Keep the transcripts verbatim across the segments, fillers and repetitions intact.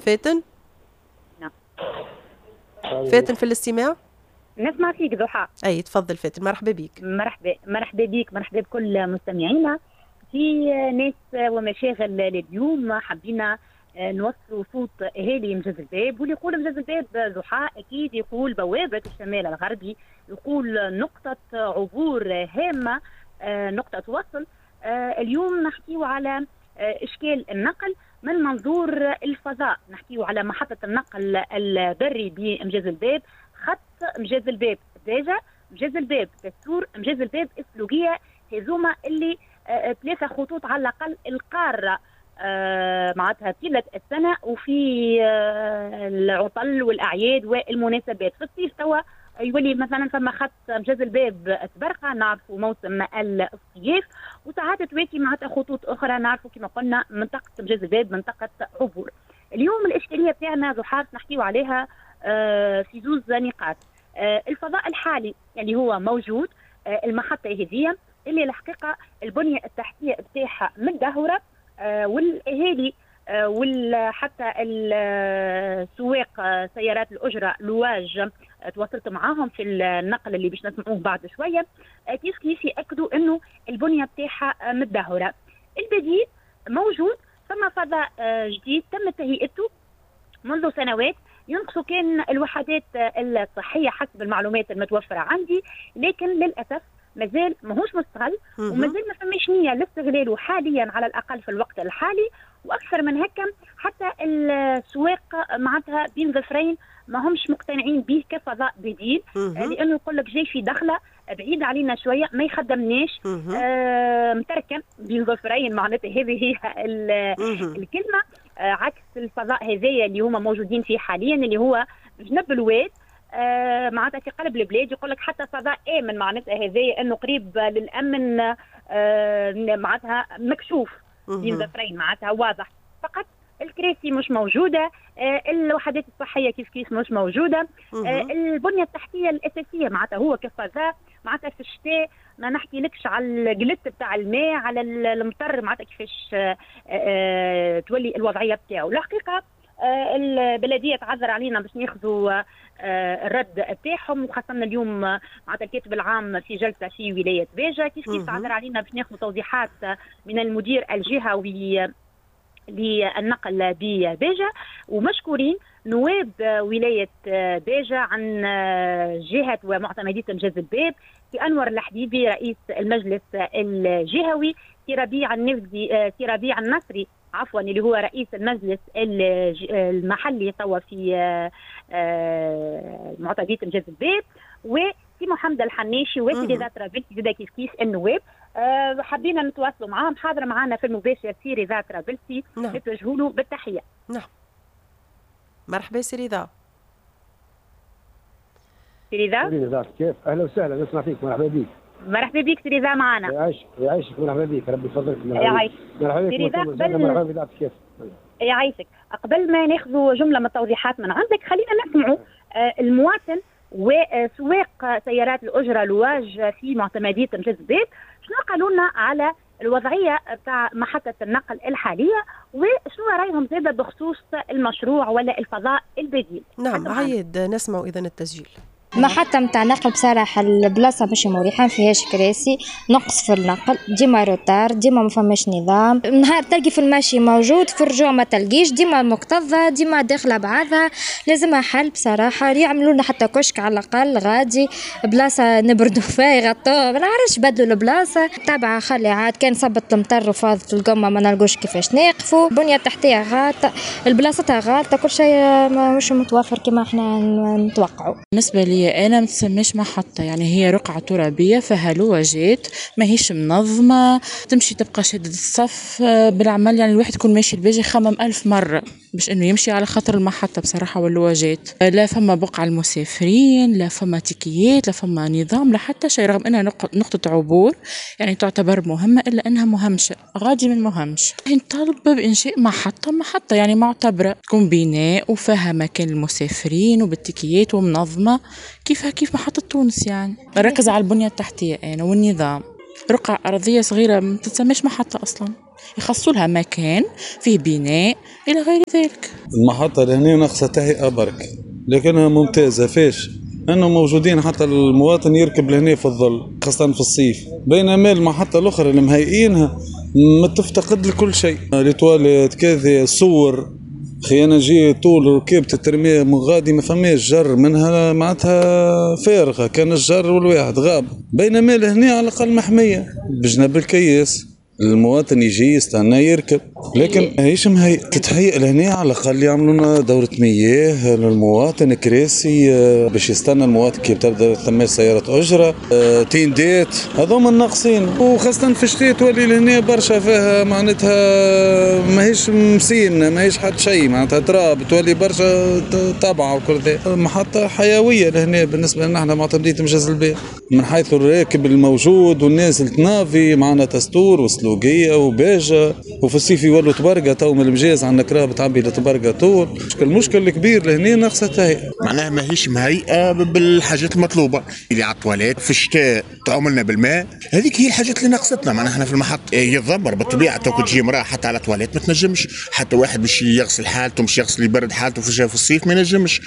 فاتن. نعم. فاتن في الاستماع؟ نسمع فيك ضحى. اي تفضل فاتن، مرحبا بك. مرحبا، مرحبا بك، مرحبا بكل مستمعينا في ناس ومشاغل. اليوم حبينا نوصلوا صوت اهالي مجاز الباب، واللي يقول مجاز الباب ضحى اكيد يقول بوابه الشمال الغربي، يقول نقطة عبور هامة، نقطة وصل. اليوم نحكيو على اشكال النقل من منظور الفضاء، نحكيو على محطة النقل البري بمجاز الباب، خط مجاز الباب باجة، مجاز الباب تستور، مجاز الباب السلوقية. هذوما اللي ثلاثة خطوط على الأقل القارة معناتها طيلة السنة، وفي العطل والأعياد والمناسبات. في الصيف توا يولي مثلا فما خط مجاز الباب تبرقة، نعرفوا موسم الصيف، وساعات تواتي معناتها خطوط أخرى، نعرفوا كما قلنا منطقة مجاز الباب منطقة عبور. اليوم الإشكالية بتاعنا ضحى نحكيو عليها في زوز نقاط. الفضاء الحالي اللي هو موجود، المحطة هذه اللي الحقيقة البنية التحتية بتاعها متدهورة، والأهالي وحتى السواق سيارات الأجرة لواج تواصلت معاهم في النقل اللي باش نسمعوه بعد شوية، كيف كيف يأكدوا أنه البنية بتاعها متدهورة. البديل موجود، ثم فضاء جديد تم تهيئته منذ سنوات، ينقصوا كان الوحدات الصحية حسب المعلومات المتوفرة عندي، لكن للأسف مازال ماهوش مستغل، ومازال ما فماش نية لاستغلاله حاليا على الأقل في الوقت الحالي. وأكثر من هكا حتى السواق معناتها بين ظفرين ما همش مقتنعين به كفضاء بديل، لأنه يقول لك جاي في دخلة بعيد علينا شوية، ما يخدمناش، آه متركن بين ظفرين، معناتها هذه هي الكلمة، آه عكس الفضاء هذايا اللي هما موجودين فيه حاليا اللي هو جنب الواد، آه معناتها في قلب البلاد. يقول لك حتى فضاء آمن، معناتها هذايا انه قريب للأمن، آه معناتها مكشوف بين ظفرين، معناتها واضح، فقط الكراسي مش موجودة، آه الوحدات الصحية كيف كيف مش موجودة، آه البنية التحتية الأساسية معناتها هو كفضاء معناتها في الشتاء ما نحكي لكش على الجلت بتاع الماء، على المطر، معناتها كيفاش آه آه تولي الوضعية بتاعه. الحقيقة آه البلدية تعذر علينا باش ناخذوا آه الرد بتاعهم، وخاصة اليوم معناتها الكاتب العام في جلسة في ولاية باجة كيف كيف تعذر علينا باش ناخذوا توضيحات من المدير الجهوي للنقل بباجة. ومشكورين نواب ولاية باجة عن جهة ومعتمدية مجاز الباب، في أنور الحبيبي رئيس المجلس الجهوي، في ربيع النفزي، في ربيع النصري عفوا اللي هو رئيس المجلس المحلي توا في معتمدية مجاز الباب، وفي محمد الحناشي وفي رضا طرابلسي زادا كيف كيف النواب. أه حبينا نتواصلوا معاهم، حاضر معنا في المباشر سي رضا طرابلسي. نعم. نتوجهوا له بالتحية. نعم مرحبا سي رضا. سي رضا؟ سي رضا كيف؟ اهلا وسهلا، نسمع فيك، مرحبا بك. مرحبا بك سي رضا معنا. يعيشك يعيشك، مرحبا بك، ربي يفضلك. يعيشك مرحبا بك قبل... مرحبا بك كيف؟ يعيشك. قبل ما ناخذوا جملة من التوضيحات من عندك، خلينا نسمعوا المواطن وسواق سيارات الأجرة لواج في معتمدية مجاز الباب شنو قالوا لنا على الوضعية بتاع محطة النقل الحالية، وشنو رأيهم زادة بخصوص المشروع ولا الفضاء البديل. نعم عايد، نسمع إذن التسجيل. محطة متاع نقل بصراحة البلاصة مش مريحة، ما فيهاش كراسي، نقص في النقل، ديما retard، ديما ما فماش نظام، نهار تلقي في المشي موجود، في الرجوع ما تلقيش، ديما مكتظة، ديما داخلة بعضها، لازمها حل بصراحة، يعملوا لنا حتى كشك على الأقل غادي، بلاصة نبردوا فيها يغطوها، ما نعرفش بدلوا البلاصة، تابعة خلي عاد كان صبت المطر وفاضت القمة ما نلقوش كيفاش ناقفوا، البنية التحتية غالطة، البلاصتها غالطة، كل شيء مش متوفر كما احنا نتوقعوا. بالنسبة لي أنا ما تسميش محطة، يعني هي رقعة ترابية فيها لواجات ماهيش منظمة، تمشي تبقى شادة الصف بالعمل، يعني الواحد يكون ماشي الباجي يخمم ألف مرة باش إنه يمشي على خاطر المحطة بصراحة واللواجات، لا فما بقعة المسافرين، لا فما تيكيات، لا فما نظام، لا حتى شيء، رغم إنها نقطة عبور يعني تعتبر مهمة إلا إنها مهمشة، غادي من مهمش. نطالب بإنشاء محطة محطة يعني معتبرة تكون بناء وفيها مكان المسافرين وبالتيكيات ومنظمة كيفها كيف محطة تونس، يعني ركز على البنية التحتية أنا والنظام. رقعة أرضية صغيرة ما تتسمىش محطة أصلا. يخصوا لها مكان فيه بناء الى غير ذلك. المحطة لهنا ناقصه تهيئة برك، لكنها ممتازة فيش انه موجودين حتى المواطن يركب لهنا في الظل خاصة في الصيف، بينما المحطة الاخرى اللي مهيئينها ما تفتقد لكل شيء، les toilettes كذا صور خي انا نجي طول ركبت ترميه من غادي ما فماش جر منها معناتها فارغة، كان الجر والواحد غاب، بينما لهنا على الاقل محمية بجنب الكياس، المواطن يجي يستنى يركب، لكن ماهيش مهيئ، تتهيئ لهنا على الاقل يعملوا لنا دورة مياه للمواطن، كراسي باش يستنى المواطن كي تبدا ثم سيارة أجرة، تيندات، هذوما الناقصين، وخاصة في الشتاء تولي لهنا برشا فيها معناتها ماهيش مسين، ماهيش حد شيء معناتها تراب، تولي برشا طبعة وكل ذا، محطة حيوية لهنا بالنسبة لنا احنا معتمدية مجاز الباب، من حيث الراكب الموجود والناس اللي تنافي معنا تستور وسلوقية وباجة، وفي الصيف يولوا تبرقة تو من المجاز عندنا كراب تعبي لتبرقة طول. المشكل الكبير لهنا ناقصة تهيئة، معناها ماهيش مهيئة بالحاجات المطلوبة اللي على الطواليت، في الشتاء تعاملنا بالماء، هذيك هي الحاجات اللي ناقصتنا. معناها احنا في المحط يتذمر بالطبيعة، تو تجي امرأة حتى على الطواليت ما تنجمش، حتى واحد باش يغسل حالته مش يغسل يبرد حالته في الصيف ما ينجمش،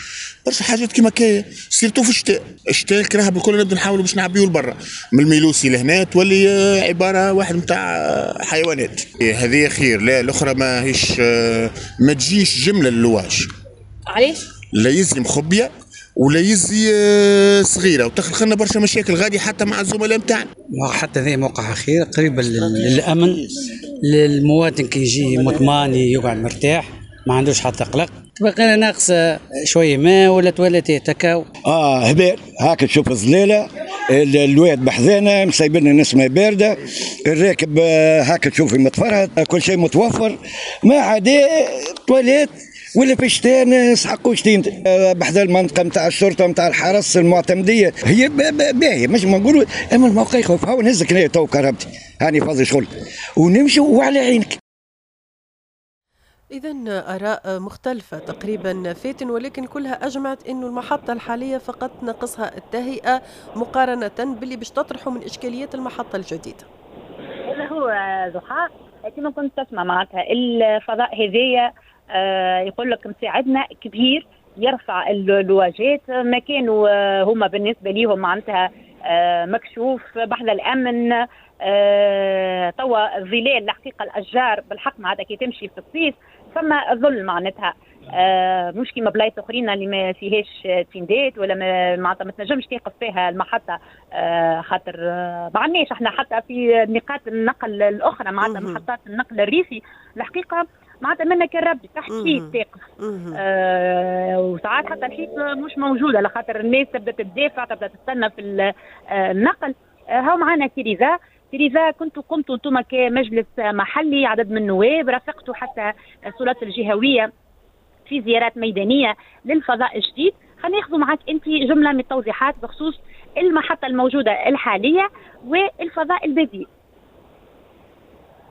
برشا حاجات كيما كاية surtout في الشتاء. الشتاء الكراهب الكل نبدا نحاولوا باش نعبيو لبرا، من الميلوسي لهنا تولي عبارة واحد نتاع حيوانات. هذه خير، لا الاخرى ما هيش ما تجيش جملة للواج. علاش؟ لا يزي مخبيه ولا يزي صغيرة وتخلق لنا برشا مشاكل غادي حتى مع الزملاء نتاعنا. حتى ذي موقع خير قريب للامن، للمواطن كي يجي مطمئن يقعد مرتاح ما عندوش حتى قلق. تبقى لنا ناقصه شوية ماء ولا تواليت تكاو. اه هبال هاك تشوف الظليله، الواد بحذانا مسيبنا نسمه باردة، الراكب هاك تشوف متفرهد، كل شيء متوفر ما عدا تواليت ولا في الشتاء نسحقوا شتين بحذا المنطقة نتاع الشرطة نتاع الحرس المعتمديه هي باهيه مش ما نقولوا، اما الموقع يخوف. هاو نهزك هنا تو كرهبتي هاني فاضي شغل ونمشي وعلى عينك. إذا آراء مختلفة تقريبا فاتن، ولكن كلها أجمعت أنه المحطة الحالية فقط ناقصها التهيئة مقارنة باللي باش تطرحه من إشكاليات المحطة الجديدة. هذا هو ضحى كما كنت تسمع معناتها الفضاء هذايا آه يقول لك مساعدنا كبير يرفع اللواجات، مكانه هما بالنسبة ليهم معناتها آه مكشوف بحذا الأمن، آه توا الظلال الحقيقة الأشجار بالحق معناتها كي تمشي في الصيف فما ظل معناتها، آه مش كيما بلايص اخرين اللي ما فيهاش تندات ولا معناتها ما تنجمش تقف فيها المحطة، آه خاطر آه ما عندناش احنا حتى في نقاط النقل الاخرى معناتها محطات النقل الريفي الحقيقة معناتها منا كان ربي تحت حيط تقف، آه وساعات حتى الحيط مش موجودة على خاطر الناس تبدا تدافع تبدا تستنى في النقل. آه هاو معنا سيريزا. سيريزا كنتوا قمتوا انتم كمجلس محلي عدد من النواب رافقتوا حتى السلطات الجهوية في زيارات ميدانية للفضاء الجديد، خلينا ناخذوا معك انت جملة من التوضيحات بخصوص المحطة الموجودة الحالية والفضاء البديل.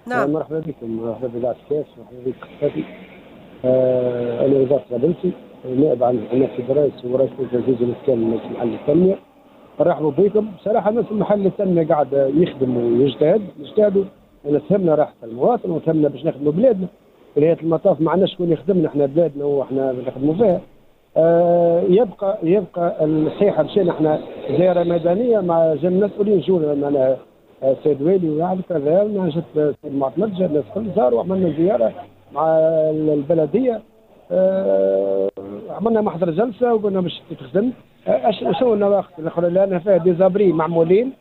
نعم مرحبا بكم، مرحبا بإذاعة كاس، مرحبا بك خفافي. آه انا رضا طرابلسي نائب عن نفسي رئيس ورئيس تنفيذي الاسكان المجلس المحلي للتنمية. نرحبوا بكم. بصراحة المجلس المحلي للتنمية قاعد يخدم ويجتهد، نجتهدوا تهمنا راحة المواطن وتهمنا باش نخدموا بلادنا. في نهاية المطاف ما عندناش شكون يخدمنا، احنا بلادنا واحنا نخدموا فيها. آه يبقى يبقى الصحيحة مشينا احنا زيارة ميدانية مع جم مسؤولين جونا معناها السيد والي ويعرف كذا، جت السيد المعتمد جا الناس الكل زاروا، عملنا زيارة مع البلدية، آه عملنا محضر جلسه وقلنا باش تخدم. شنو النواقص الاخرى لان فيها des abris معمولين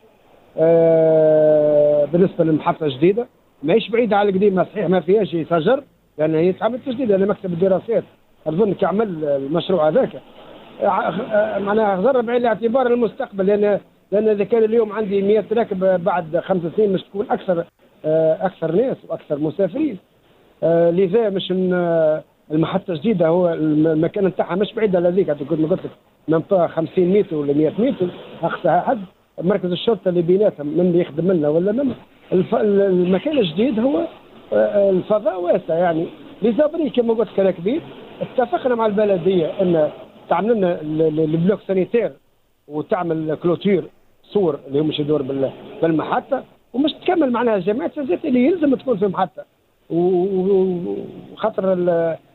آه بالنسبة للمحطه الجديدة ماهيش بعيدة على القديمة، صحيح ما فيهاش شجر لان هي تعمل تجديد، لان مكتب الدراسات اظن كي عمل المشروع هذاك معناها ضرب بعين الاعتبار المستقبل، لان لان اذا كان اليوم عندي مئة راكب بعد خمس سنين مش تكون اكثر اكثر ناس واكثر مسافرين. لذا مش المحطة الجديدة هو المكان نتاعها مش بعيد على ذيك، كنت قلت لك منطقة خمسين متر ولا مئة متر اقصاها حد. مركز الشرطة اللي بيناتهم من اللي يخدم لنا ولا من الف... المكان الجديد هو الفضاء واسع، يعني les abris كما قلت لك كبير. اتفقنا مع البلدية ان تعمل لنا ال bloc sanitaire وتعمل clôture سور اللي هو مش يدور بالمحطه. ومش تكمل معناها جماعة الزيت اللي يلزم تكون في محطة، وخاطر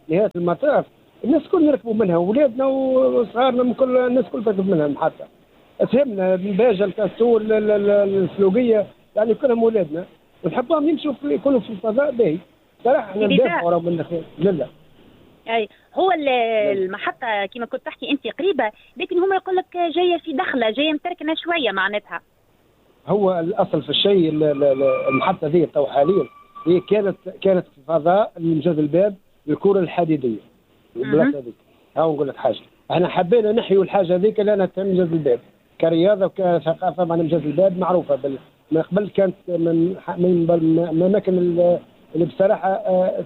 نهاية المطاف الناس الكل يركبوا منها، ولادنا وصغارنا من كل الناس الكل تركب منها المحطة. تهمنا من باجة الكاستول السلوقية، يعني كلهم ولادنا ونحبهم يمشوا في يكونوا في الفضاء باهي. صراحة احنا ندافعوا من الخير. لا لا اي هو المحطة كما كنت تحكي انت قريبة، لكن هما يقول لك جاية في دخلة، جاية متركنة شوية معناتها. هو الاصل في الشيء المحطة ذي تو حاليا هي كانت كانت في فضاء مجاز الباب للكرة الحديدية البلاصة هذيك. هاو نقول لك حاجة، احنا حبينا نحيوا الحاجة هذيك لأنها تهم مجاز الباب كرياضة وكثقافة. معناها مجاز الباب معروفة بال... من قبل كانت من من الأماكن اللي بصراحة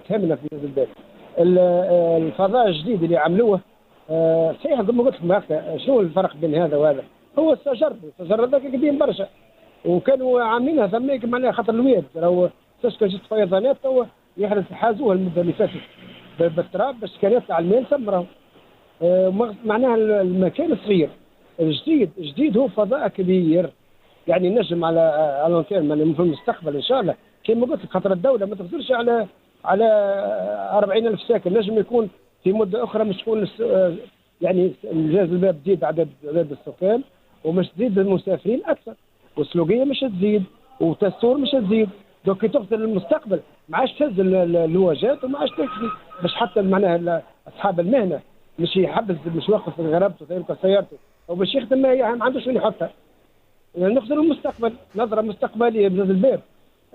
تهمنا في مجاز الباب. الفضاء الجديد اللي عملوه صحيح كما قلت لك، شنو الفرق بين هذا وهذا؟ هو الشجر، الشجر هذاك قديم برشا وكانوا عاملينها ثميك معناها خاطر الواد راهو كان جت فيضانات تو يحرز حازوها المدة اللي فاتت بالتراب باش كان يطلع الماء سمرة. معناها المكان صغير. الجديد الجديد هو فضاء كبير، يعني نجم على على long terme في المستقبل ان شاء الله كما قلت لك، خاطر الدولة ما تقدرش على على أربعين ألف ساكن، نجم يكون في مده اخرى مش تكون يعني مجاز الباب تزيد عدد عدد السكان ومش تزيد المسافرين اكثر، والسلوقيه مش تزيد وتستور مش تزيد. donc كي تغزر للمستقبل ما عادش تهز اللواجات وما عادش تكفي باش حتى معناها اصحاب المهنة مش يحبس مش يوقف غرابته يلقى سيارته او باش يخدم ما عندوش وين يحطها. يعني نخزر المستقبل نظره مستقبلية بجاز الباب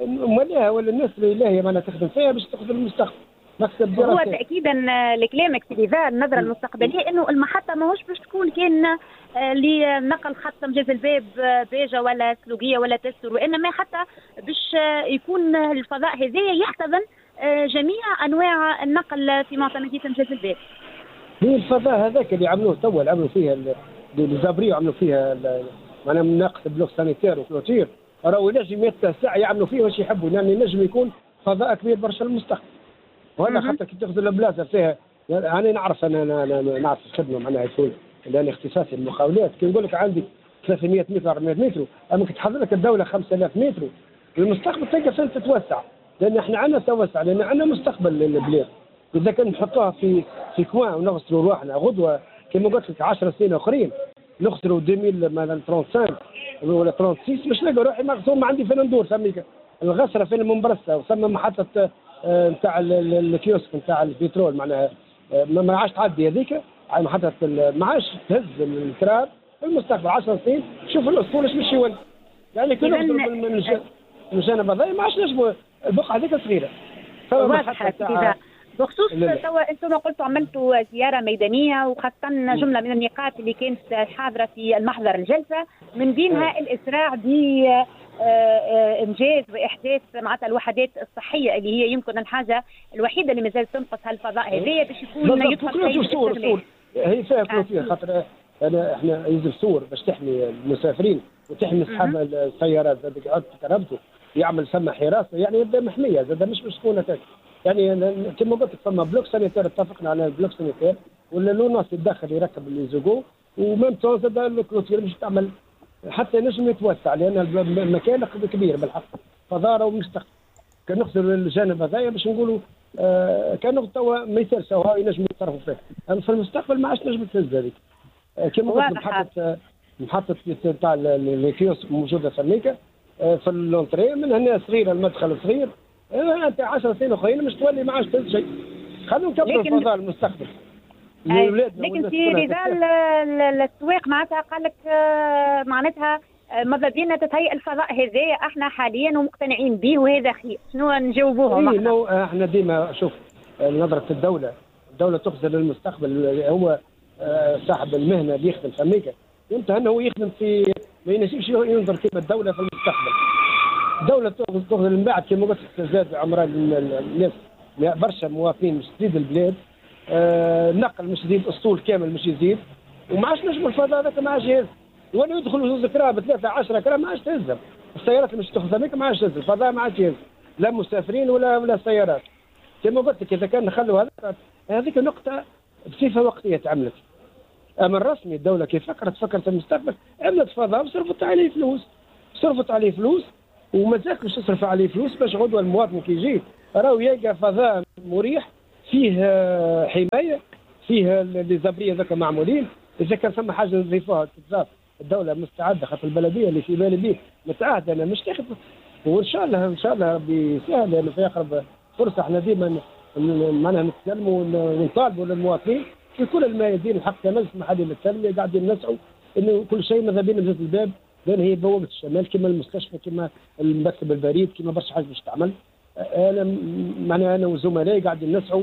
مالها ولا الناس اللي لاهية معناها تخدم فيها باش تخدم المستقبل. مكتب هو تاكيدا لكلامك سي رضا، النظرة المستقبلية انه المحطة ماهوش باش تكون كان لنقل خط مجاز الباب باجه ولا سلوقيه ولا تستر، وانما حتى باش يكون الفضاء هذايا يحتضن جميع انواع النقل في معتمديه مجاز الباب. هي الفضاء هذاك اللي عملوه توا، اللي عملوا فيها les abris عملوا فيها معناها ناقص bloc sanitaire و clôture، راهو ينجم يتسع يعملوا فيه واش يحبوا، يعني ينجم يكون فضاء كبير برشا للمستقبل. وهذا خاطر كي تاخذ البلاصة فيها، انا نعرف انا انا نعرف الخدمة معناها يكون لان اختصاصي المقاولات، كي نقول لك عندي ثلاثمية متر أربعمية متر، اما كي تحضر لك الدولة خمسة آلاف متر المستقبل تلقى فين تتوسع، لان احنا عندنا توسع، لان عندنا مستقبل للبلاد. اذا كان نحطوها في في coin ونغسلوا رواحنا غدوه كما قلت لك عشر سنين اخرين نخسروا ألفين مثلا خمسة وثلاثين ولا ستة وثلاثين باش نلقى روحي مغسول ما عندي فين ندور. سميك الغسره فين المنبرسه وثم محطة نتاع الكيوسك نتاع البترول معناها ما عادش تعدي هذيك على محطة، ما عادش تهز التراب. في المستقبل عشر سنين شوف الاسطول اش باش يولي، يعني كي نخسروا من الجانب هذا ما عادش نجموا، البقعة هذيك صغيرة. واضحة. بخصوص توا انتم قلتوا عملتوا زيارة ميدانية وخاصة جملة من النقاط اللي كانت حاضره في المحضر الجلسة، من بينها الاسراع ب انجاز واحداث معناتها الوحدات الصحية اللي هي يمكن الحاجة الوحيدة اللي مازالت تنقص هالفضاء هذايا باش يكون يدخل سور سور هي فيها clôture، خاطر انا احنا يلزم سور باش تحمي المسافرين وتحمي اصحاب السيارات، زاد يقعد كرهبته يعمل ثم حراسة، يعني يبدا محمية زاد مش باش تكون هكاك. يعني كما قلت لك فما bloc sanitaire، اتفقنا على ال bloc sanitaire ولا l'ONAS يتدخل يركب les égouts و même temps زاد ال clôture مش تعمل حتى نجم يتوسع، لان المكان كبير بالحق فضاره ومستقبل. كان نخسر الجانب هذايا باش نقولوا آه كان توا ما يصيرش هاو ينجموا يتصرفوا فيه، اما في المستقبل ما عادش نجم تهز هذيك. آه كما قلت محطة محطة تاع les kiosques موجودة ثميكا آه في l'entrée من هنا صغيرة، المدخل صغير، انت عشر سنين اخرين مش تولي ما عادش تهز شيء. خلينا نكبروا الفضاء المستقبل. لكن في رضا السواق معناتها قال لك معناتها ماذا بينا تتهيئ الفضاء هذايا احنا حاليا ومقتنعين به وهذا خير، شنو نجاوبوهم؟ احنا احنا ديما شوف نظرة الدولة، الدولة تخزر للمستقبل، هو صاحب المهنة اللي يخدم فميكا ينتهى انه هو يخدم في ما ينجمش ينظر كيما الدولة في المستقبل. الدولة تخزر من بعد كما قلت لك زاد عمران الناس برشا مواطنين مش تزيد البلاد، آه النقل مش يزيد، اسطول كامل مش يزيد، وما عادش نجموا الفضاء هذاك ما عادش يهز، ولا يدخلوا زوز كراب ثلاثة عشرة كراب ما عادش تهزهم، السيارات اللي مش تاخذ هذيك ما عادش تهز، الفضاء ما عادش يهز، لا مسافرين ولا ولا سيارات. كما قلت لك إذا كان نخلوا هذا هذيك نقطة بصفة وقتية تعملت. أما الرسمي الدولة كيف فكرت فكرت المستقبل، عملت فضاء وصرفت عليه فلوس، صرفت عليه فلوس ومازالت باش تصرف عليه فلوس باش غدوه المواطن كي يجي راهو يلقى فضاء مريح فيه حماية، فيه les abris هذوك معمولين. اذا كان ثم حاجة نضيفوها تتضاف، الدولة مستعدة، خاطر البلدية اللي في بالي به متعهده انا مش تاخذ، وان شاء الله ان شاء الله ربي يسهل، لانه في اقرب فرصة احنا ديما معناها نتكلموا ونطالبوا للمواطنين في كل الميادين. الحق كمجلس محلي للتنمية قاعدين نسعوا انه كل شيء ماذا بينا مجلس الباب، لان هي بوابه الشمال كما المستشفى كما المكتب البريد كما برشا حاجة باش تعمل. انا معناها انا وزملائي قاعدين نسعوا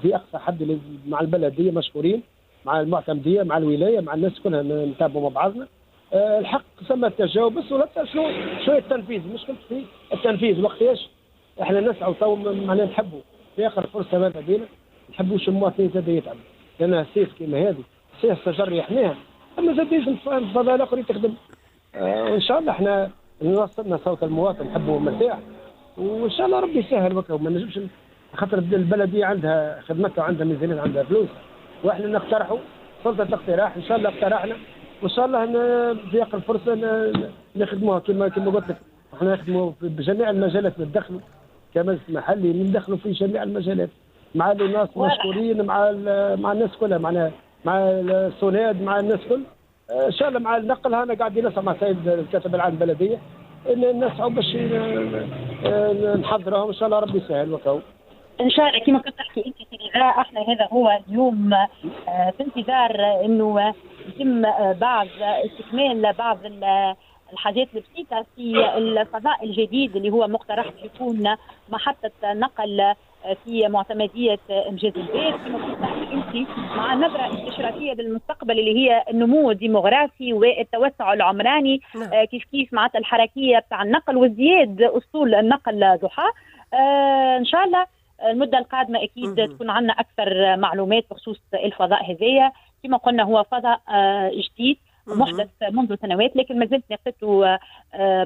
في اقصى حد مع البلدية مشكورين، مع المعتمديه، مع الولاية، مع الناس كلها نتابعوا مع بعضنا. الحق ثم تجاوب بس ولا شنو شوية التنفيذ، مشكلة في التنفيذ وقتاش احنا نسعوا تو معناها نحبوا في اخر فرصة ماذا بينا، نحبوش المواطنين زاد يتعبوا، لان سيف كيما هذه سيف شجر يحميها، اما زاد لازم الفضاء الاخر تخدم. آه وان شاء الله احنا وصلنا صوت المواطن، نحبه مرتاح، وان شاء الله ربي يسهل وكا. وما نجمش خاطر البلدية عندها خدمتها وعندها ميزانية عندها فلوس، واحنا نقترحوا سلطة الاقتراح، ان شاء الله اقترحنا وان شاء الله في اقرب فرصة نخدموها. كما كما قلت لك احنا نخدموا بجميع المجالات، ندخلوا كمجلس محلي ندخلوا في جميع المجالات مع الناس مشكورين، مع مع الناس كلها، معناها مع السوناد، مع الناس كل. ان شاء الله مع النقل هنا قاعدين نسعى مع السيد الكاتب العام البلدية ان نسعوا باش نحضرهم، ان شاء الله ربي يسهل وكاو. ان شاء الله كما كنت تحكي انت في رضا، احنا هذا هو اليوم في انتظار انه يتم بعض استكمال بعض الحاجات البسيطة في الفضاء الجديد اللي هو مقترح يكون محطة نقل في معتمديه امجاد الباب، كما كنت تحكي انت مع نظره استشرافيه للمستقبل اللي هي النمو الديموغرافي والتوسع العمراني. نعم. كيف كيف معناتها الحركية بتاع النقل وازدياد اسطول النقل ضحى. آه ان شاء الله المدة القادمة اكيد مم. تكون عندنا اكثر معلومات بخصوص الفضاء هذايا. كما قلنا هو فضاء جديد محدث منذ سنوات، لكن ما زلت ناقصته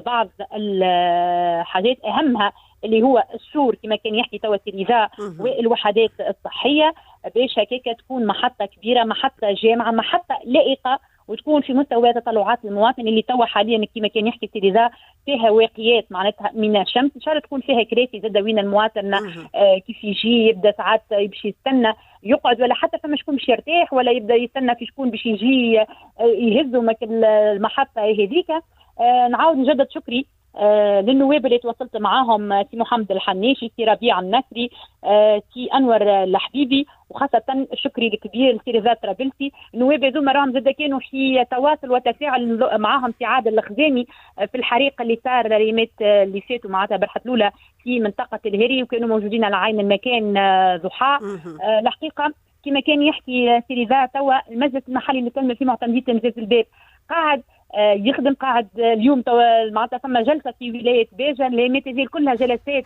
بعض الحاجات، اهمها اللي هو السور كما كان يحكي توا رضا والوحدات الصحية، باش هكاك تكون محطة كبيرة، محطة جامعه، محطة لائقة، وتكون في مستوى تطلعات المواطن اللي توا حاليا كما كان يحكي رضا فيها واقيات معناتها من الشمس. ان شاء الله تكون فيها كراسي زاد وين المواطن آه كيف يجي يبدا ساعات باش يستنى يقعد، ولا حتى فما شكون باش يرتاح، ولا يبدا يستنى في شكون باش يجي يهزوا المحطة هذيك. آه نعاود نجدد شكري آه للنواب اللي تواصلت معاهم، سي محمد الحنيشي، سي ربيع النصري، آه سي انور الحبيبي، وخاصة شكري الكبير لسي رضا طرابلسي. النواب هذوما راهم زاد كانوا في تواصل وتفاعل معاهم سي عادل الخزامي في الحريق اللي صار اليومات اللي فاتوا معناتها برحه الاولى في منطقة الهري، وكانوا موجودين على عين المكان ضحى. آه الحقيقة كما كان يحكي سي رضا توا المجلس المحلي اللي تم في معتمديه مجلس الباب قاعد يخدم، قاعد اليوم توا معناتها ثم جلسه في ولاية باجه اللي كلها جلسات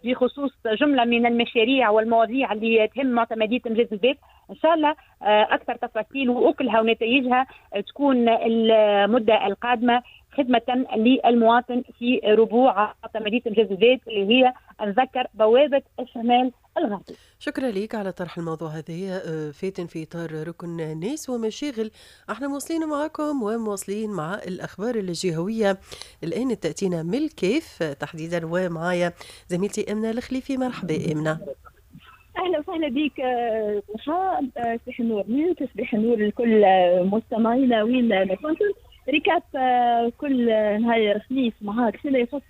بخصوص جملة من المشاريع والمواضيع اللي تهم معتمديه مجلس الباب. ان شاء الله اكثر تفاصيل واكلها ونتائجها تكون المدة القادمة خدمة للمواطن في ربوع معتمديه مجلس الباب اللي هي نذكر بوابه الشمال الغربي. شكرا لك على طرح الموضوع هذا فاتن في إطار ركن ناس ومشاغل. احنا مواصلين معكم ومواصلين مع الأخبار الجهوية الآن تأتينا من الكيف تحديدا، ومعايا زميلتي أمنة الخليفي. مرحبا أمنة. اهلا وسهلا بك ضحى، صباح النور ليك، صباح النور لكل مستمعينا وين ما كنتم. récap كل نهار خميس معاك فيما يخص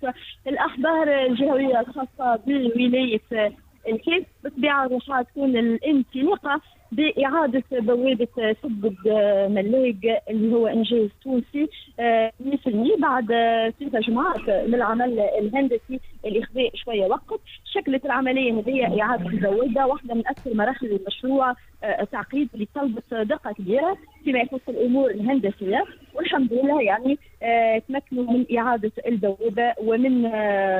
الاخبار الجهوية الخاصة بولاية الكاف. بالطبيعة ضحى تكون الانطلاقة باعادة بوابه سد ملاق اللي هو انجاز تونسي مية بالمية بعد ثلاث جمعات من العمل الهندسي اللي خذا شوية وقت. شكلت العملية هذه اعاده البوابة واحدة من اكثر مراحل المشروع تعقيد اللي طلبت دقه كبيرة فيما يخص الامور الهندسية، والحمد لله يعني تمكنوا من اعاده البوابة ومن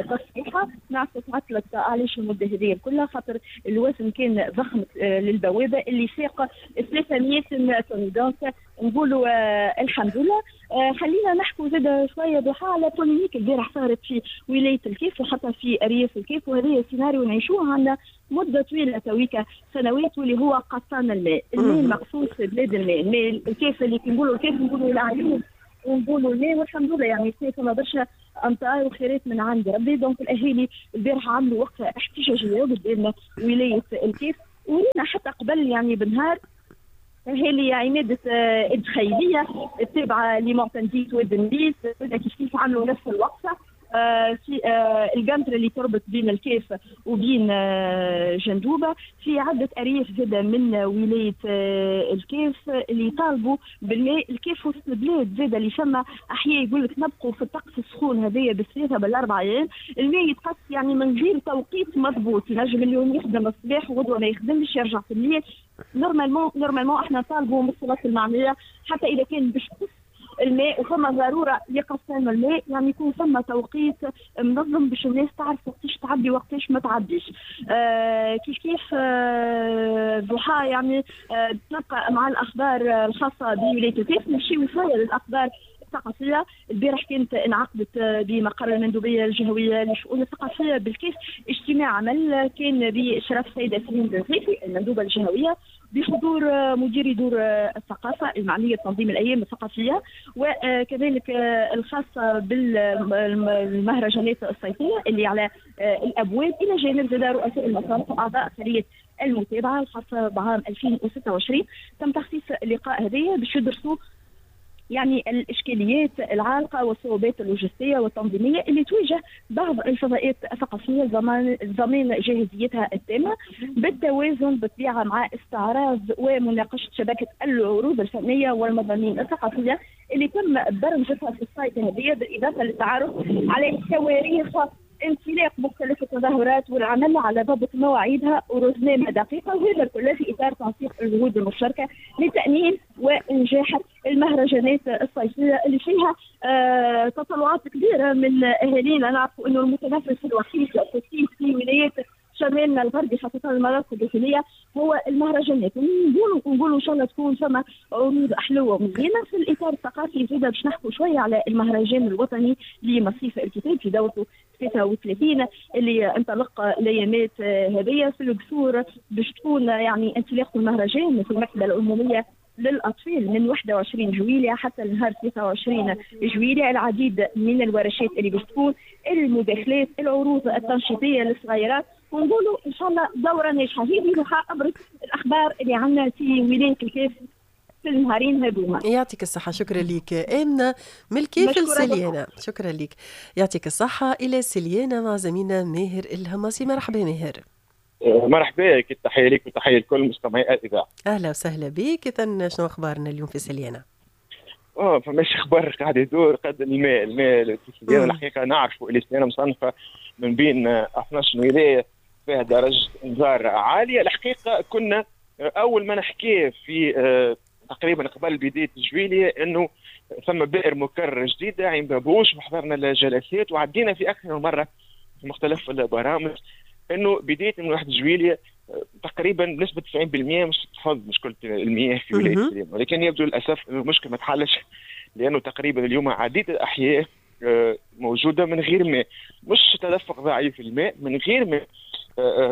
تصحيحها. نعرف تعطلت علاش المدة هذه كلها، خاطر الوزن كان ضخم للبوابه اللي فاق ثلاثمية طن. donc نقولوا الحمد لله. خلينا نحكوا زاد شوية ضحى على polémique البارح صارت في ولاية الكيف وحتى في ارياف الكيف، وهذا سيناريو نعيشوه عندنا مده طويلة تويكا سنوات، واللي هو قصان الماء، الماء المقصوص في بلاد الماء، الماء الكيف اللي كي نقولوا الكيف نقولوا العيون ونقولوا الماء، والحمد لله يعني فما برشا امطار وخيرات من عند ربي. donc الاهالي البارحة عملوا وقفه احتجاجية قدام ولاية الكاف، ورينا حتى قبل يعني بنهار اهالي عماده الدخيليه التابعة لمعتمديه واد النيس كيف كيف عملوا نفس الوقفة في القنطرة اللي تربط بين الكاف وبين جندوبة، في عدة أرياف زادة من ولاية الكاف اللي طالبوا بالماء. الكاف وسط البلاد زادة اللي فما أحياء يقول لك نبقوا في الطقس السخون هذايا بالثلاثة بالأربع أيام، الماء يتقص يعني من غير توقيت مضبوط، ينجم اليوم يخدم الصباح وغدوة ما يخدمش يرجع في الليل. normalement normalement احنا نطالبوا من السلطات المعنية حتى إذا كان باش تقص الماء وفما ضرورة لقصان الماء، يعني يكون فما توقيت منظم باش الناس تعرف وقتاش تعبي وقتاش ما تعبيش. آه كيف كيف آه ضحى يعني آه نبقى مع الاخبار الخاصة بولاية الكاف، نمشيو شوية للاخبار الثقافية. البارح كانت انعقدت بمقر المندوبيه الجهوية للشؤون الثقافية بالكاف اجتماع عمل كان باشراف السيدة سليم بن غيثي المندوبه الجهوية، بحضور مدير دور الثقافة المعنية بتنظيم الايام الثقافية، وكذلك الخاصة بالمهرجانات الصيفية اللي على الابواب، الى جانب زاد رؤساء المصالح واعضاء خليه المتابعة الخاصة بعام ألفين وستة وعشرين. تم تخصيص اللقاء هذايا باش يدرسوا يعني الاشكاليات العالقة والصعوبات اللوجستية والتنظيميه اللي تواجه بعض الفضاءات الثقافية لضمان ضمان جاهزيتها التامة، بالتوازن بالطبيعة مع استعراض ومناقشة شبكة العروض الفنية والمضامين الثقافية اللي تم برمجتها في السايت هذه، بالاضافة للتعرف على تواريخ انطلاق مختلف التظاهرات والعمل على ضبط مواعيدها ورزنامه دقيقة، وهذا كله في اطار تنسيق الجهود المشتركة لتامين وانجاح المهرجانات الصيفية اللي فيها آه تطلعات كبيرة من اهالينا. نعرفوا انه المتنفس الوحيد للتصيف في ولايات شمالنا الغربي خاصة المناطق الداخلية هو المهرجانات. نقولوا نقولوا ان شاء الله تكون فما عروض حلوة ومزيانه. في الاطار الثقافي زاده باش نحكوا شوية على المهرجان الوطني لمصيف الكتاب في دورته ثلاثة وثلاثين اللي انطلق الايامات هذيا في القصور، باش تكون يعني انطلاق المهرجان في المكتبة العمومية للاطفال من واحد وعشرين جويلية حتى النهار ثلاثة وعشرين جويلية. العديد من الورشات اللي باش تكون، المداخلات، العروض التنشيطيه للصغيرات، ونقولوا ان شاء الله دوره ناجحة. هذه ابرز الاخبار اللي عندنا في ولاية الكاف في النهارين هذوما. يعطيك الصحة، شكرا لك امنه من الكاف لسليانه، شكرا لك، يعطيك الصحة. الى سليانه مع زميلنا ماهر الهماسي. مرحبا ماهر. مرحبا بك، تحية لك وتحية لكل مستمعي الاذاعة. اهلا وسهلا بك. اذا شنو اخبارنا اليوم في سليانه؟ اه فماش اخبار قاعد يدور قد الماء، الماء في سليانه الحقيقة نعرفوا اللي سليانه مصنفه من بين اثناش ولاية فيها درجه انذار عالية. الحقيقة كنا اول ما نحكيه في تقريبا قبل بداية جويلية انه ثم بئر مكرر جديدة عين بابوش، وحضرنا الجلسات وعدينا في اكثر من مرة في مختلف البرامج انه بداية من واحد جويلية تقريبا بنسبة تسعين بالمئة مش تتفض مشكلة المياه في ولاية سليانة، ولكن يبدو للاسف انه المشكلة ما تحلش، لانه تقريبا اليوم عديد الاحياء موجودة من غير ماء، مش تدفق ضعيف الماء، من غير ماء،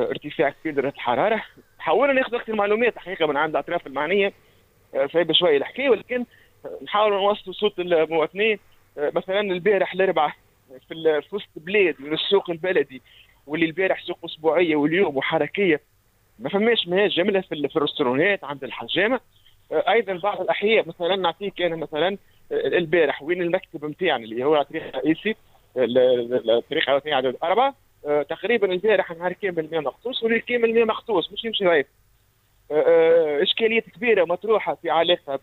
ارتفاع كبير درجه الحرارة. حاولنا ناخذ اكثر معلومات الحقيقة من عند الاطراف المعنية، صعيبة شوية الحكاية، ولكن نحاولوا نوصلوا صوت المواطنين. مثلا البارح الاربعاء في وسط بلاد من السوق البلدي، واللي البارح سوق اسبوعية واليوم وحركيه، ما فماش ماء جملة في الرستورانات عند الحجامة. ايضا بعض الاحياء مثلا نعطيك انا مثلا البارح وين المكتب نتاعنا اللي هو على الطريق الرئيسي، الطريق الوطني عدد اربعة، تقريبا البارح نهار كامل الماء مقصوص والليل كامل الماء مقصوص، مش يمشي ضعيف. اشكاليات كبيرة مطروحة في علاقة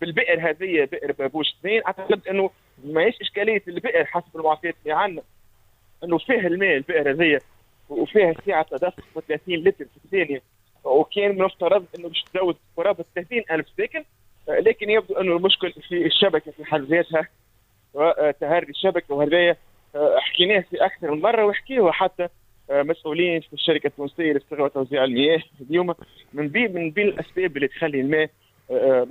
بالبئر هذه، بئر بابوش اثنين. اعتقد انه ماهيش اشكالية البئر حسب المعطيات اللي عندنا، انه فيه الماء البئر هذه وفيها سعة تدفق ثلاثين لتر في الثانية، وكان من المفترض انه باش تزود قرابة ثلاثين ألف ساكن، لكن يبدو انه المشكل في الشبكة في حد ذاتها وتهري الشبكة، وهذايا حكيناه في اكثر من مرة وحكيوه حتى مسؤولين في الشركة التونسية لاستغلال وتوزيع المياه. اليوم من بين من بين الاسباب اللي تخلي الماء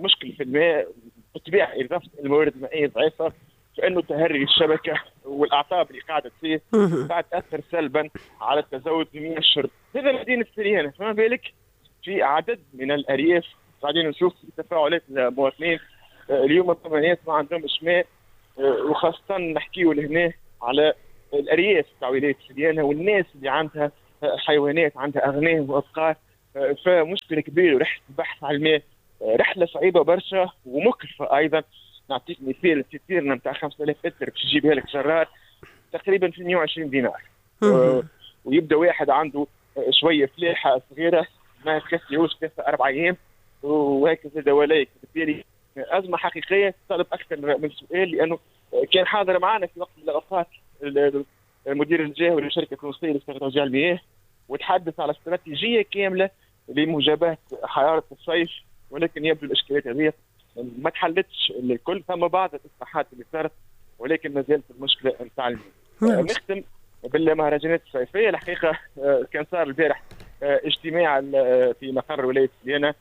مشكل في الماء بالطبيعة اضافه الموارد المائية ضعيفة، فانه تهري الشبكة والاعطاب اللي قاعدة تصير قاعد تاثر سلبا على التزود بمياه الشرب. هذا مدينة سليانه، فما بالك في عدد من الارياف قاعدين نشوف في تفاعلات المواطنين اليوم ثم ناس ما عندهمش ماء، وخاصة نحكيو لهنا على الارياف تاع ولاية سليانه والناس اللي عندها حيوانات، عندها اغنام وابقار، فمشكله كبيرة. ورحله البحث على الماء رحله صعيبة برشا ومكلفه ايضا. نعطيك مثال، citerne نتاع خمسة آلاف لتر باش يجيبها لك جرار تقريبا في مئة وعشرين دينار، ويبدا واحد عنده شوية فلاحة صغيرة ما تكفيهوش ثلاثة اربع ايام وهكذا دواليك. بالتالي ازمة حقيقية تطلب اكثر من سؤال، لانه كان حاضر معنا في وقت من الاوقات المدير الجهوي للشركة التونسية لتوزيع المياه وتحدث على استراتيجية كاملة لمجابهه حرارة الصيف، ولكن يبدو الاشكاليات هذه ما تحلتش الكل. ثم بعض الاصلاحات اللي صارت ولكن ما زالت المشكلة نتاع المياه. نختم بالمهرجانات الصيفية. الحقيقة كان صار البارح اجتماع في مقر ولاية سليانه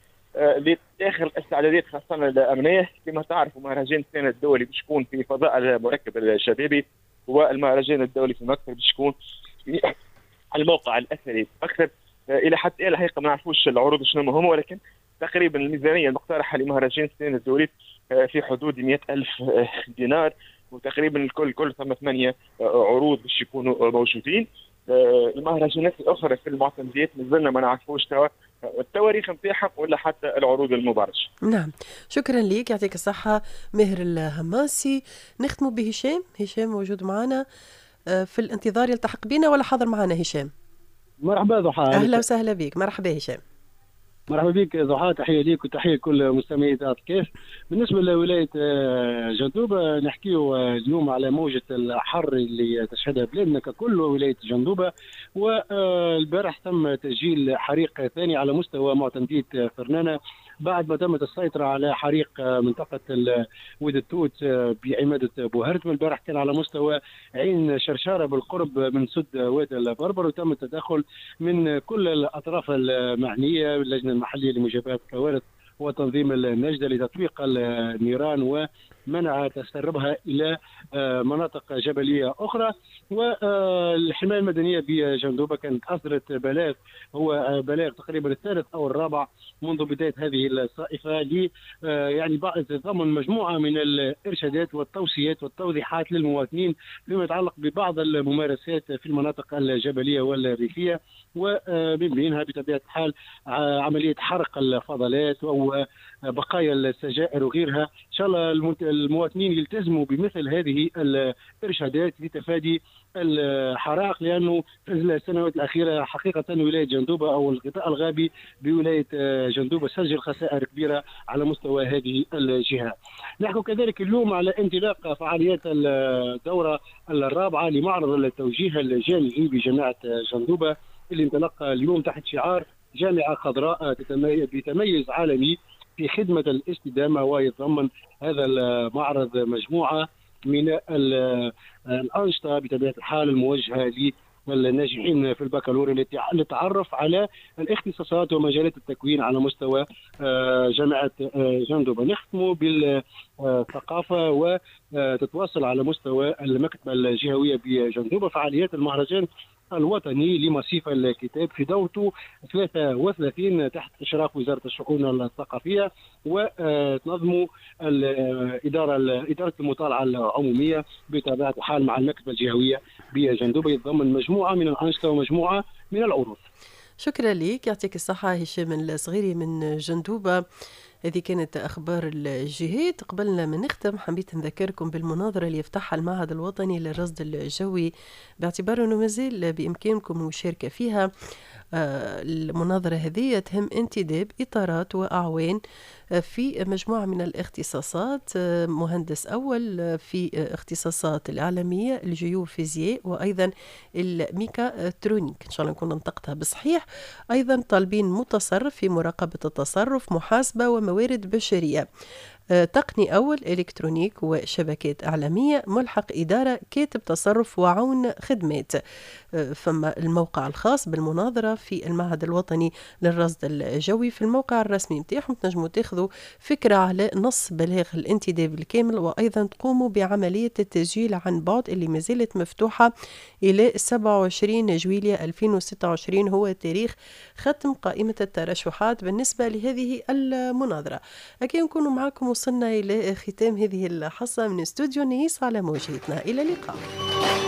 لاخر الاستعدادات خاصة الامنية. كما تعرفوا مهرجان السنة الدولي باش يكون في فضاء المركب الشبابي، والمهرجان الدولي في مكتب باش يكون في الموقع الاثري اكثر. الى حد الان الحقيقة ما نعرفوش العروض شنو هما، ولكن تقريبا الميزانية المقترحة لمهرجان السنة الدولي في حدود مئة ألف دينار، وتقريبا الكل كل ثم ثمانية عروض باش يكونوا موجودين. المهرجانات الاخرى في المعتمديات مازلنا ما نعرفوش توا التواريخ نتاعها ولا حتى العروض المبارجه. نعم، شكرا لك، يعطيك الصحة ماهر الهماسي. نختم بهشام، هشام موجود معنا في الانتظار، يلتحق بنا ولا حاضر معنا هشام؟ مرحبا ضحى. اهلا وسهلا بك، مرحبا هشام. مرحبا بك ضحى، تحية ليك وتحية لكل مستمعي اذاعة الكاف. بالنسبة لولاية جندوبه نحكيو اليوم على موجه الحر اللي تشهدها بلادنا ككل ولاية جندوبه، والبارح تم تسجيل حريق ثاني على مستوى معتمديه فرنانه بعد ما تمت السيطرة على حريق منطقة واد التوت بعماده بوهرت. والبارح كان على مستوى عين شرشاره بالقرب من سد واد البربر، وتم التدخل من كل الاطراف المعنية، اللجنة المحلية لمجابهه الكوارث وتنظيم النجدة لتطويق النيران ومنع تسربها إلى مناطق جبلية أخرى. والحماية المدنية بجندوبة كانت أصدرت بلاغ، هو بلاغ تقريبا الثالث أو الرابع منذ بداية هذه الصائفة، ل يعني تضمن مجموعة من الإرشادات والتوصيات والتوضيحات للمواطنين فيما يتعلق ببعض الممارسات في المناطق الجبلية والريفية، ومن بينها بطبيعة الحال عملية حرق الفضلات أو بقايا السجائر وغيرها. إن شاء الله المواطنين يلتزموا بمثل هذه الإرشادات لتفادي الحرائق، لأنه في السنوات الأخيرة حقيقة ولاية جندوبة أو الغطاء الغابي بولاية جندوبة سجل خسائر كبيرة على مستوى هذه الجهة. نحن كذلك اليوم على انطلاق فعاليات الدورة الرابعة لمعرض التوجيه الجامعي بجامعة جندوبة اللي انطلق اليوم تحت شعار جامعة خضراء بتميز عالمي في خدمة الاستدامة، ويتضمن هذا المعرض مجموعة من الأنشطة بطبيعة الحال الموجهة للناجحين في البكالوريا للتعرف على الاختصاصات ومجالات التكوين على مستوى جامعة جندوبة. نختم بالثقافة وتتواصل على مستوى المكتبة الجهوية بجندوبة فعاليات المهرجان الوطني لمصيف الكتاب في دورته ثلاثة وثلاثين تحت إشراف وزارة الشؤون الثقافية، وتنظم الإدارة إدارة المطالعة العمومية بطبيعة الحال مع المكتبة الجهوية بجندوبة، يتضمن مجموعة من الأنشطة ومجموعة من العروض. شكرا لك، يعطيك الصحة هشام الصغيري من جندوبة. هذه كانت أخبار الجهات. قبل ما نختم حبيت نذكركم بالمناظرة اللي يفتحها المعهد الوطني للرصد الجوي، باعتبار أنه مازال بإمكانكم المشاركة فيها. المناظرة هذه تهم انتداب إطارات وأعوان في مجموعة من الاختصاصات، مهندس أول في اختصاصات الإعلامية، الجيوفيزياء، وأيضا الميكاترونيك، إن شاء الله نكون نطقتها بصحيح. أيضا طالبين متصرف في مراقبة التصرف، محاسبة وموارد بشرية، تقني أول إلكترونيك وشبكات إعلامية، ملحق إدارة، كاتب تصرف، وعون خدمات. فما الموقع الخاص بالمناظرة في المعهد الوطني للرصد الجوي في الموقع الرسمي متاعهم تنجموا تاخذوا فكرة على نص بلاغ الانتداب الكامل، وأيضا تقوموا بعملية التسجيل عن بعد اللي ما زالت مفتوحة إلى سبعة وعشرين جويلية ألفين وستة وعشرين، هو تاريخ ختم قائمة الترشحات بالنسبة لهذه المناظرة. أكيد نكونوا معكم وصلنا إلى ختام هذه الحصة من استوديو نيس على موجتنا. إلى اللقاء.